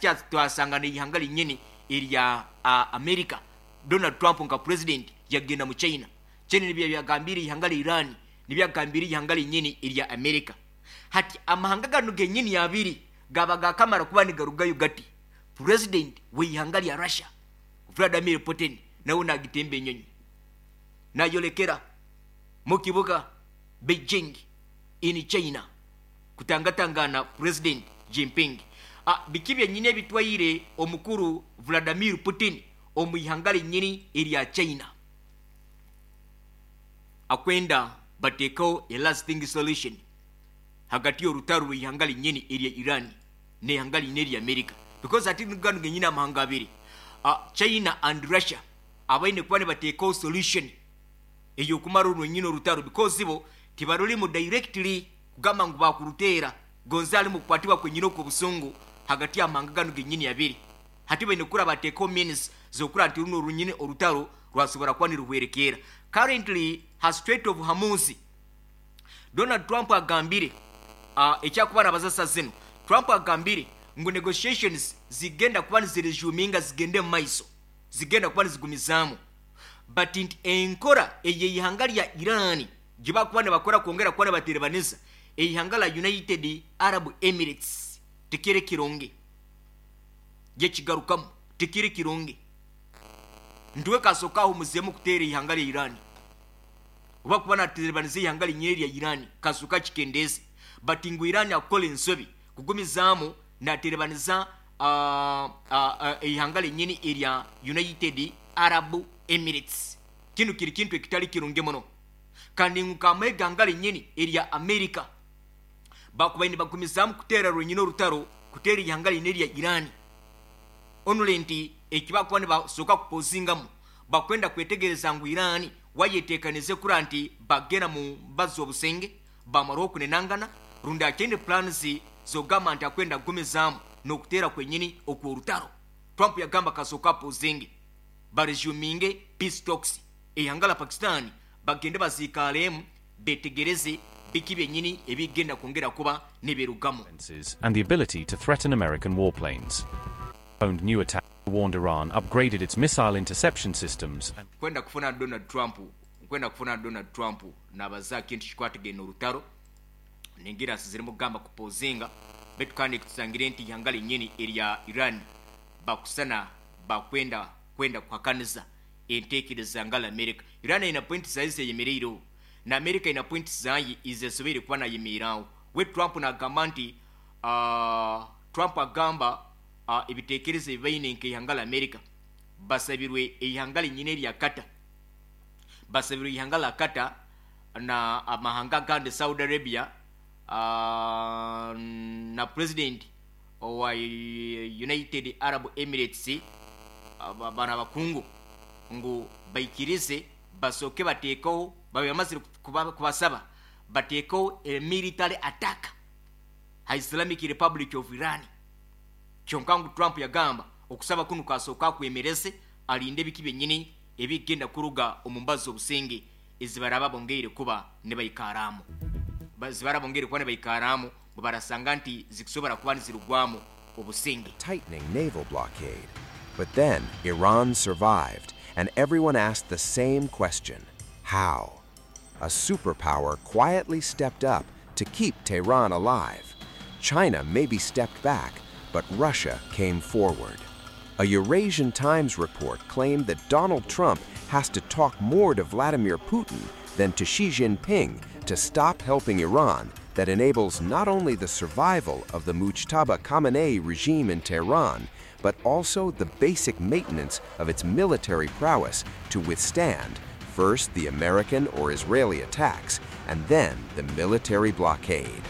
Hati twasanga n'eihanga rinyini erya America, Donald Trump nka president yagenda mu China. China nibyo byagambire eihanga rya Iran, nibyo yagambire eihanga rinyini erya America. Hati amahanga ganu genyini abiri gaba gakamara kuba nigarugayo gati, president w'eihanga rya Russia Vladimir Putin nawe nagitemba enyonyi nayolekera mu kibuga Beijing in China kutangatangana president Jinping. Biki byenyini ebitwaire omukuru Vladimir Putin omu ihanga rinyini erya China? Akwenda batekeho a lasting solution hagati y'orutaro rw'eihanga rinyini erya Iran n'eihanga rinyini erya America because hati ganu genyini amahanga abiri, China and Russia, abaine kuba nibateekaho solution ey'okumara orwenyini orutaro because bo tibarurimu directly kugamba ngu baakuruteera gonze harimu okukwatibwa kwenyini okw'obusungu hagati y'amahanga ganu genyini abiri. Hati baine kukura bateekaho means z'okura nti runu orunyini orutaro rwasobora kuba niruhwerekeera. Currently ha Strait of Hormuz, Donald Trump agambire ekyakuba nabaza sa zinu, Trump agambire ngu negotiations zigenda kuba niziresuminga zigende mumaiso, zigenda kuba nizigumizaamu but nti enkora ey'eihanga rya Iran gyibakuba nibakora kwongera kuba nibaterebaniza eihanga la United Arab Emirates tikiri kirungi. Gyekigarukamu tikiri kirungi. Nti we kasooka ahumuzeemu kuteera eihanga rya Iran oba kuba naterebaniza eihanga rinyine erya Iran kasooka akikendeeze but ngu Iran akukora ensobi kugumizaamu naterebaniza eihanga rinyini erya United Arab Emirates. Kinu kiri kintu ekitari kirungi muno kandi ngu nk'amahe eihanga rinyini erya America bakubaire nibagumizaamu kuteera rwenyini orutaro kuteera eihanga rinyini erya Iran only nti eki bakuba nibasooka kupozingamu bakwenda kwetegereza ngu Iran wayetekanize kura nti bagenda mu mbazi z'obusenge bamaraho okunenangana rundi akyaine plans z'okugamba nti akwenda kugumizaamu n'okuteera kwenyini okw'orutaro. Trump yagamba kasooka apozinge baresuminge peace talks eihanga la Pakistan bagende baziikaaremu betegereze biki byenyini ebigenda kwongera kuba nibirugamu. And the ability to threaten American warplanes. Owned new attack warned Iran upgraded its missile interception systems and Kwenda kufuna Donald Trump nkwenda kufuna Donald Trump nabaza kintu kikwatagaine orutaro ningira zirimu kugamba kupozinga baitu kandi tusangire nti ihanga rinyini erya Iran bakusana bakwenda kwenda kuhakaniza entekereza ngala America. Iran ina point zayo zeyemereireho na America ina point zayo ezesoboire kuba nayemeeraho. We Trump nagamba nti Trump agamba ebitekerezo ebi baine nk'eihanga la America basabirwe eihanga rinyini erya Qatar, basabirwe eihanga la Qatar na amahanga agandi Saudi Arabia na president owa United Arab Emirates bano abakungu ngu baikirize basooke bateekeho babe bamazire kubasaba bateekeho a military attack ha Islamic Republic of Iran. Kyonka ngu Trump yagamba okusaba kunu kasooka akwemereze alinde ebiki byenyini ebigenda kuruga omu mbazi z'obusinge ezibaraba bongeire kuba nibaikaramu. Zibaraba bongeire kuba nibaikaramu ngu barasanga nti zikusobora kuba nizirugwamu obusinge. Tightening naval blockade. But then Iran survived, and everyone asked the same question: how? A superpower quietly stepped up to keep Tehran alive. China maybe stepped back, but Russia came forward. A Eurasian Times report claimed that Donald Trump has to talk more to Vladimir Putin than to Xi Jinping to stop helping Iran that enables not only the survival of the Mujtaba Khamenei regime in Tehran, but also the basic maintenance of its military prowess to withstand first the American or Israeli attacks, and then the military blockade.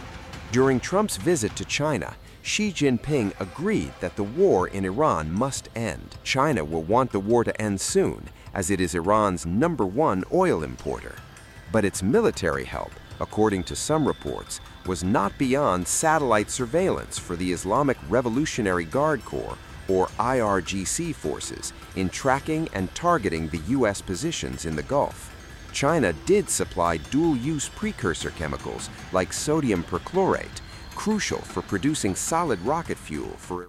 During Trump's visit to China, Xi Jinping agreed that the war in Iran must end. China will want the war to end soon, as it is Iran's number one oil importer. But its military help, according to some reports, was not beyond satellite surveillance for the Islamic Revolutionary Guard Corps, or IRGC forces, in tracking and targeting the U.S. positions in the Gulf. China did supply dual-use precursor chemicals like sodium perchlorate, crucial for producing solid rocket fuel for